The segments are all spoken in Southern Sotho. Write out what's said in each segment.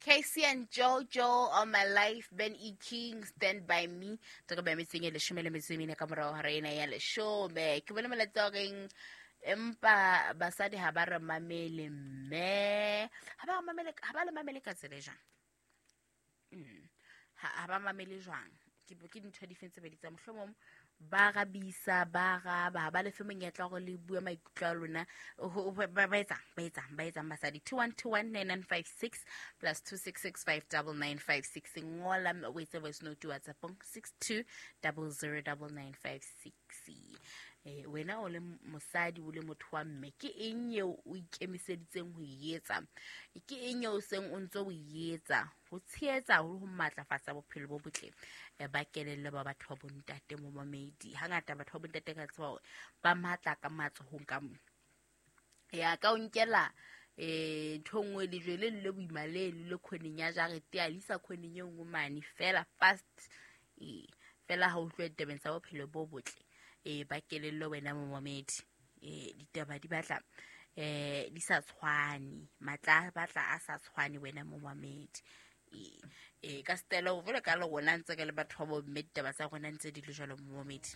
Casey and Jojo on my life, Ben E. King, Stand By Me. Tse ba metseng e leshome le metso e mene ka morao hora ena ya leshome. Ke bone molaetsa wa reng empa basadi ha ba re mamele mme ha ba mamele ha ba le mamele ka tsela e jwang? Ha ba mamele jwang? Ke dintho di feng tse ba di tsa mohlomong ba rabisa ba raba ha ba lefe monyetla hore le bue maikutlo a lona ba etsang basadi. 21219956 plus 26659956. Ngola o etse voice note WhatsAppong 62009956. Wena o le mosadi o le motho wa mme, ke eng eo o ikemiseditseng ho e etsa? Ke eng eo seng o ntse o e etsa ho tshehetsa ho matlafatsa bophelo bo botle ba kelello ba batho ba bontate momamedi? Hangata batho ba bontate ka tseba hore ba matla ka matsohong ka mo ya ka o nkela ntho nngwe lejwe le le boima le le khoneng ya jarete a lisa khoneng e nngwe mane fela fast fela ha o tlohe ditabeng tsa bophelo bo botle ba kelello wena momamedi. Ditaba di batla di sa tshwane, matla batla a sa tshwane wena momamedi. Ka stela o vele ka le rona ntse re le batho ba bomme, ditaba tsa rona ntse di le jwalo momamedi.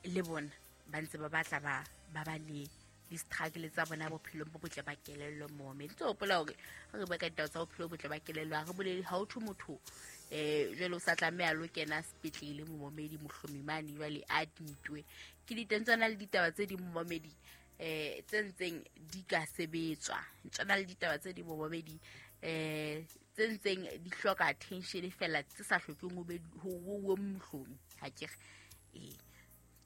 Le bona ba ntse ba batla ba ba le di-struggle tsa bona bophelong bo botle ba kelello momamedi. Ntse hopola hore ha re bua ka ditaba tsa bophelo bo botle ba kelello, ha re bolele ha ho thwe motho jwale o sa tlameha lo kena sepetlele momamedi mohlomi mane jwale a admitwe. Ke diteng tsona le ditaba tse ding momamedi tse ntseng di ka sebetswa, tsona le ditaba tse ding momamedi tse ntseng di hloka attention fela tse sa hlokeng ho be ho mohlomi. Ha ke re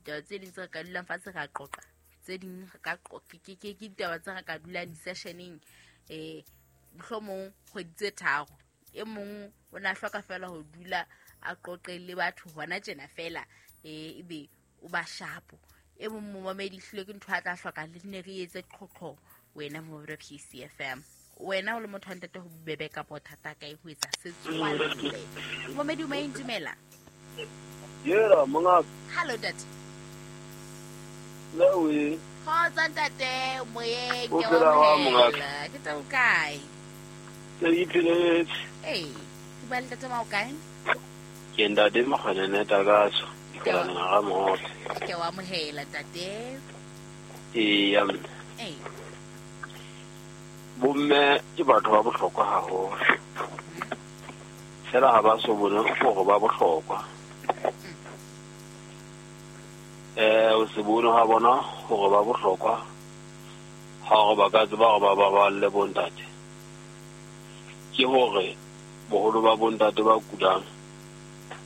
ditaba tse ding tse re ka dulang fatshe ra qoqa, tse ding re ka ke ditaba tse re ka dulang di-sessioneng mohlomong kgwedi tse tharo. E mong o na hloka fela ho dula a qoqe le batho hona tjena fela ebe o ba shapo. E mong momamedi hlile ke ntho a tla hloka le ne re etse qhoqho wena momamedi wa PCFM. Wena o le motho wa ntate ho bobebe kapa ho thata kae ho etsa setswalle? Momamedi o maeng dumela. Yera mongaka. Hello ntate. Lewe. Kgotsa ntate moyeng ke wa mongaka. Ke tsa o kae? Ke ipheletse. Ke bua le ntate ma o kae? Ke ntate Makgwenene Takaso, ke la ga motle. Ke wa amohela ntate. Eya mme. Bomme ke batho ba bohlokwa haholo. Fela ha ba so bone hore ba bohlokwa. O se bone ha bona hore ba bohlokwa ha hore ba ka tseba hore ba baballe bontate. Ke hore boholo ba bontate ba kulang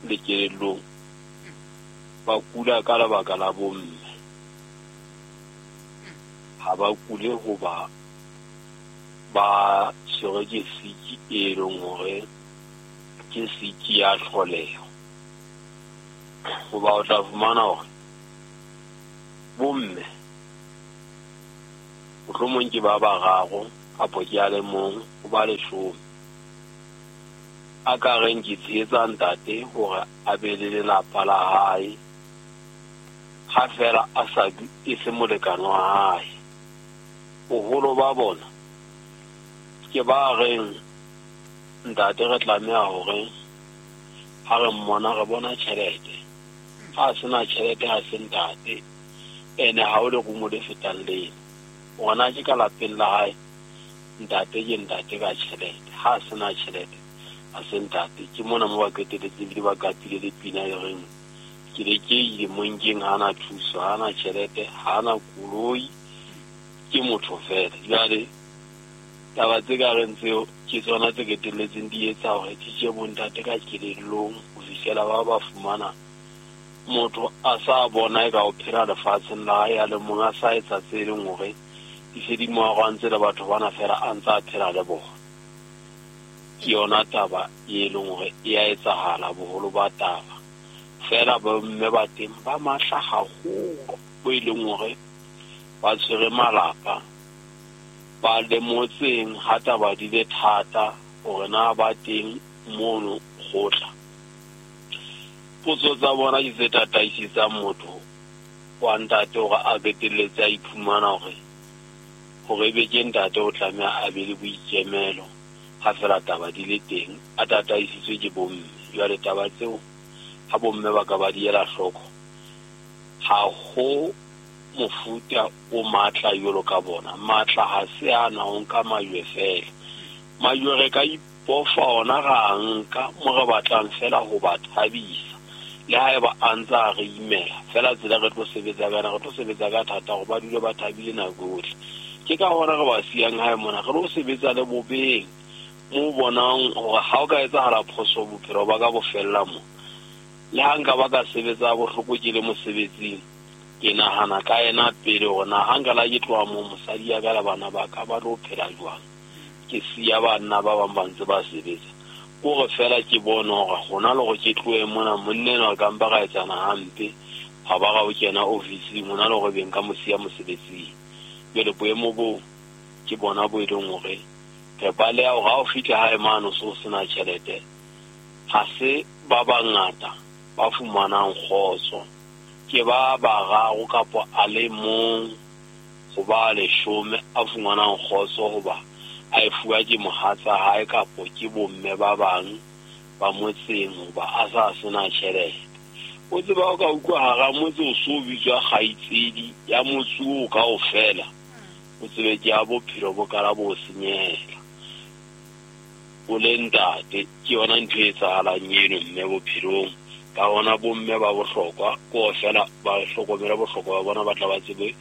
le kelellong ba kula ka lebaka la bomme. Ha ba kule hoba ba tshwerwe ke siki e leng hore ke siki ya tlholeho. Hoba o tla fumana hore bomme mohlomong ke ba bararo kapo ke a le mong ho ba leshome. A ka reng ke tshehetsa ntate hore a be le lelapa la hae ha fela a sa e se molekane wa hae. Boholo ba bona ke ba reng ntate re tlameha hore ha re mmona re bona tjhelete. Ha sena tjhelete ha se ntate, ene ha o lerumo le fetang lena. Ona ke ka lapeng la hae ntate ke ntate ka tjhelete. Ha sena tjhelete ha se ntate. Ke mona mo ba qeteletse ebile ba qapile le pina e reng ke le ke ile monkeng ha na thuso, ha na tjhelete, ha na koloi, ke motho fela. Jwale taba tse ka reng tseo ke tsona tse qetelletseng di etsa hore di tje bontate ka kelellong ho fihlela ba fumana motho a sa bona e ka o phela lefatsheng la hae a le mong, a sa etsa tse leng hore di se di mo arogantse le batho bana fela a ntse a phela le bona. Ke yona taba e leng hore e a etsahala boholo ba taba. Fela bomme ba teng ba matla haholo bo e leng hore ba tshwere malapa, ba le motseng ha taba di le thata hore na ba teng mono kgotla. Potso tsa bona ke tse tataisetsang motho wa ntate hore a qetelletse a iphumana hore Hore ebe ke ntate o tlameha a be le boikemelo ha fela taba di le teng, a tataisitswe ke bomme. Jwale taba tseo ha bomme ba ka ba di ela hloko, ha ho mofuta o matla jwalo ka bona. Matla ha se ana ho nka majwe fela. Majwe re ka ipofa ona ra nka mo re batlang fela ho ba thabisa. Le haeba a ntse a re imela fela, tsela re tlo sebetsa ka yona, re tlo sebetsa ka thata hore ba dule ba thabile nako yohle. Ke ka hona re ba siyang hae mona, re lo sebetsa le bobeng mo bonang hore ha o ka etsahala phoso bophelo ba ka bo fella mo. Le ha nka ba ka sebetsa bohloko ke le mosebetsing, ke nahana ka yena pele hore na ha nka la ke tloha moo mosadi ya ka le bana ba ka ba tlo phela jwang. Ke siya banna ba bang ba ntse ba sebetsa. Kore fela ke bone hore hona le hore ke tlohe mona monna enwa re ka mpa ra etsana hampe, ha ba ra o kena ofising, hona le hore be nka mo siya mosebetsing. Jwale boemo boo ke bona bo e leng hore re baleha hore ha o fihla hae mane o so sena tjhelete, ha se ba bangata ba fumanang kgotso. Ke ba bararo kapa a le mong ho ba leshome a fumanang kgotso hoba a e fuwa ke mohatsa hae kapo ke bomme ba bang ba motseng hoba a sa sena tjhelete. O tseba o ka utlwa hara motse o so bitswa kgaitsedi ya motse oo kaofela, o tsebe ke ya bophelo bo kala bo senyehela. O le ntate, ke yona ntho e etsahalang eno mme bophelong. Ka hona bomme ba bohlokwa, ke hore fela ba hlokomele bohlokwa ba bona, ba tla ba tsebe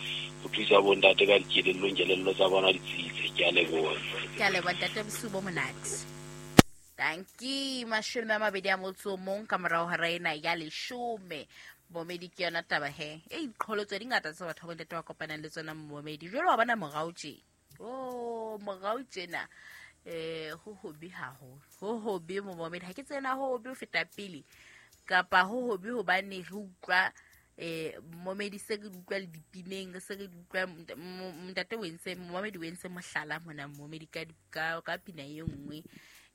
ho thusa bontate ka dikelellong, kelello tsa bona di tsitse. Ke a leboha. Ke a leboha ntate, bosiu bo monate. Tanki 21 ka morao hora ena ya 10. Momedi ke yona taba he. E diqholotso di ngata tse batho ba bontate ba kopanang le tsona momedi. Jwale wa bona morao tje. Oh, morao tjena. Ho hobe haholo. Ho hobe momedi. Ha ke tsena ho hobe ho feta pele. Kapa ho hobe hobane re utlwa momedi se re utlwa le dipineng, se re utlwa ntate o entse, momedi o entse mohlala mona momedi ka pina e nngwe.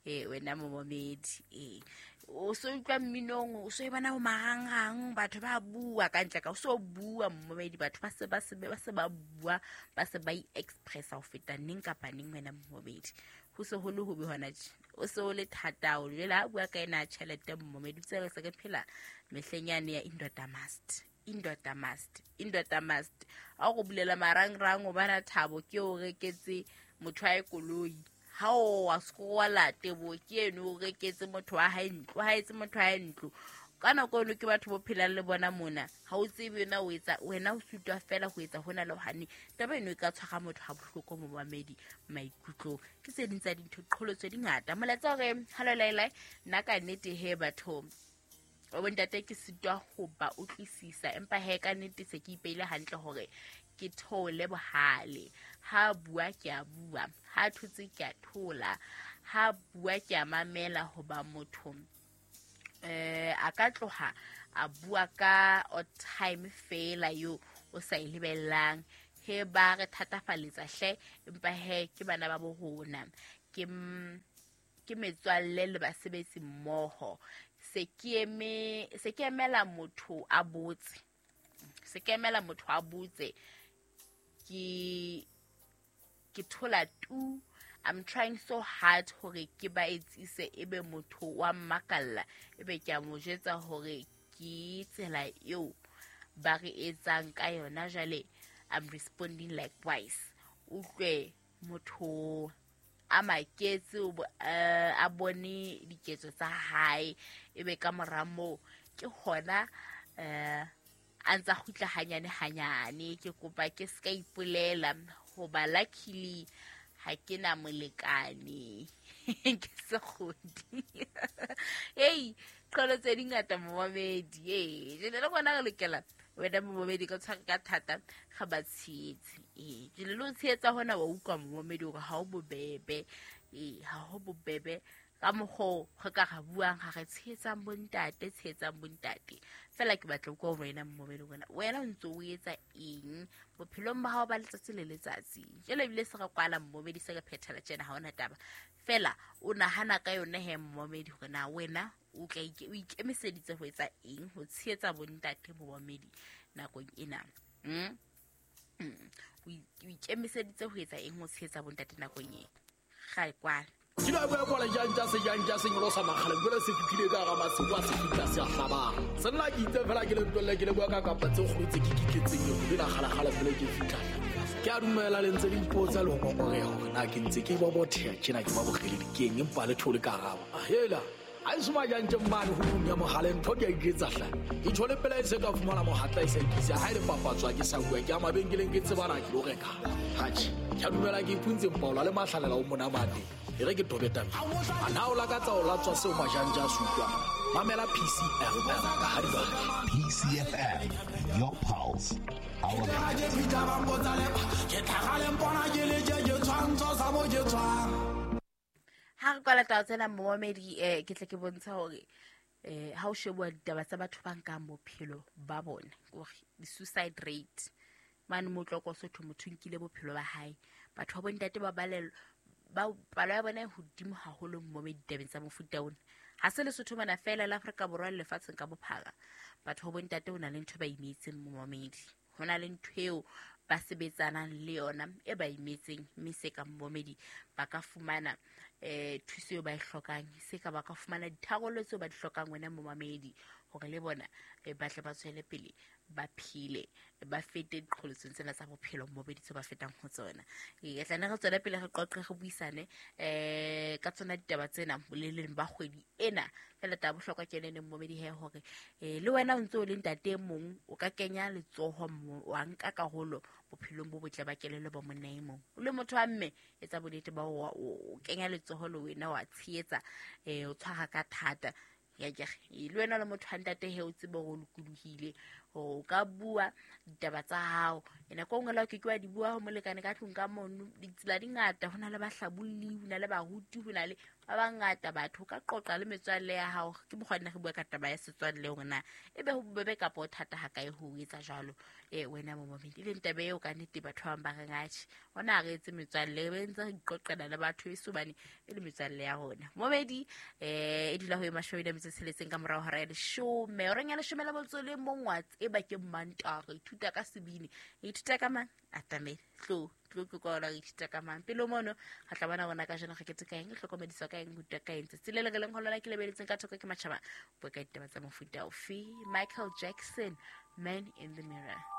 Wena momedi o so utlwa mminong, o so e bona ho marangrang, batho ba bua ka ntle ka o so bua momedi, batho ba se ba bua, ba se ba i-expressa ho feta neng kapa neng wena momedi. Ho se ho le hobe hona tje, o se o le thata o jwale ha bua ka ena tjhelete momedi, tse re se re phela mehleng yane ya indoda must, indoda must, indoda must. Ha o go bulela marangrang o bana thabo ke o reketse motho wa koloi. Ha o wa skola tebo ke eno o reketse motho wa hae ntlo, ha etse motho wa hae ntlo. Ka nako eno ke batho bo phelang le bona mona, ha o tsebe na o etsa wena o sutwa fela ho etsa hona le hane. Taba eno e ka tshwara motho ha bohloko momamedi maikutlong. Ke tse ding tsa dintho, qholotso di ngata. Molaetsa hore hello Laila, nna ka nnete he batho o bontate ke sitwa ho ba utlwisisa, empa he ka nnete se ke ipeile hantle hore ke thole bohale. Ha bua ke a bua, ha thotse ke a thola, ha bua ke a mamela hoba motho a ka tloha a bua ka o time fela yo o sa e lebellang. He ba re thatafaletsa hle, empa he ke bana ba bo rona, ke metswalle le basebetsi mmoho. Se ke emela motho a botse, se ke emela motho a botse, ke thola tu. I'm trying so hard hore ke ba etsise ebe motho wa mmakalla, ebe ke a mo jwetsa hore ke tsela eo ba re etsang ka yona. Jwale I'm responding likewise. Utlwe motho a maketse, a bone diketso tsa hae, ebe ka mora moo ke hona a ntsa kgutla hanyane hanyane. Ke kopa ke ska ipolela hoba luckily ha ke na molekane. Ke sekgodi. Ei, qolo tse dingata momamedi. Jwale le rona re lokela wena momamedi ka tshware ka thata ga ba tshehetse. Jwale le ho tshehetsa hona wa utlwa momamedi hore ha o bobebe. Ha ho bobebe ka mokgwa re ka ra buang, ga re tshehetsang bontate, tshehetsang bontate. Fela ke batla ho utlwa wena momamedi hore wena o ntse o etsa eng bophelong ba hao ba letsatsi le letsatsi. Jwale ebile se re kwala momamedi, se re phethela tjena, ha hona taba. Fela o nahana ka yona he momamedi hore na wena o tla o ikemiseditse ho etsa eng ho tshehetsa bontate momamedi nakong ena. O ikemiseditse ho etsa eng ho tshehetsa bontate nakong e ga kwala. Ke la bua kwala jantja se jantja se nyolosa makgale jwale se fihlile ka hara masiu a se fihla se a hlabang. Se nna ke itse fela ke le ntwelle ke le bua ka kapa tse kgolo tse ke kitletseng le la kgalakgala pele ke fihla. Ke a dumela le ntse le ipotsa le ho ngongoreha hore na ke ntse ke bobotheha tjena ke ba bokgeledi keng empa le thole ka araba. Hela a e soma jantje mane ho ya mogale ntho di a iketsa hle. E thole pela e se ka fumana mohatla e sa ikise ha ile papatswa ke sa bua ke a mabenkeleng ke tsebana ke lo reka. Hatjhe, ke a dumela ke ipuntse mpaola le mahlalela o monamate. E re ke tobe tabeng. A na o lakatsa o latswa seo majanja a se utlwang. Mamela PCFM ka ha di batla. PCFM, your pulse, our Ke fihla ba mpotsa le ke tlhagale mpona ke le je ke tshwantsho sa mo ke tshwang. Ha re kwala taba tsena momamedi, ke tle ke bontsha hore ha o shebuwa ditaba tsa batho ba nkang bophelo ba bona, kore di-suicide rate mane mo tloko sotho motho nkile bophelo ba hae. Batho ba bontate ba balelwa ba palo ya bona e hodimo haholo momamedi ditabeng tsa mofuta ona. Ha se Lesotho mona fela, la Afrika Borwa le lefatsheng ka bophara. Batho ba bontate ho na le ntho ba imetseng momamedi, ho na le ntho eo ba sebetsanang le yona e ba imetseng, mme se ka momamedi ba ka fumana thuso eo ba e hlokang, se ka ba ka fumana ditharollo tseo ba di hlokang wena momamedi, hore le bona ba tle ba tswele pele ba phele, ba fete diqholotsong tsena tsa bophelo momamedi tseo ba fetang ho tsona. E tla ne re tswele pele re qoqe re buisane ka tsona ditaba tsena boleleng ba kgwedi ena. Fela taba bohlokwa ke yone momamedi he hore le wena o ntse o le ntate e mong o ka kenya letsoho wa nka karolo bophelong bo botle ba kelello ba monna e mong. O le motho wa mme etsa bonnete ba o kenya letsoho le wena wa tshehetsa, o tshwara ka thata. Ya ke re, le wena le motho wa ntate he o tsebe hore o lokolohile hore o ka bua ditaba tsa hao. E nako e nngwe le ha o ke ke wa di bua ho molekane ka tlung ka mono, ditsela di ngata, ho na le bahlabolli, ho na le baruti, ho na le ba bangata batho. O ka qoqa le metswalle ya hao. Ke mokgwa nna re bua ka taba ya setswalle hore na ebe ho bobebe kapa ho thata ha kae ho etsa jwalo. Wena momamedi, e leng taba eo ka nnete batho ba bang ba reng atjhe, hona ha re etse metswalle, re be ntse re iqoqela le batho eso hobane e le metswalle ya rona. Momamedi, e dula ho e 26 ka morao hora ya 10. Horeng ya 11 wa tseba ke Mantaha, re ithuta ka sebini. Re ithuta ka mang? Atamele. Tlo, tlo tlo kwa re ithuta ka mang? Pele mono, re tla bona rona kajeno re ketse ka eng, re hlokomediswa ka eng, re rutwa ka eng. Tsatsi le le re leng ho lona ke lebeletseng ka thoko ke matjhaba. Bua ka ditaba tsa mofuta ofe? Michael Jackson, Man in the Mirror.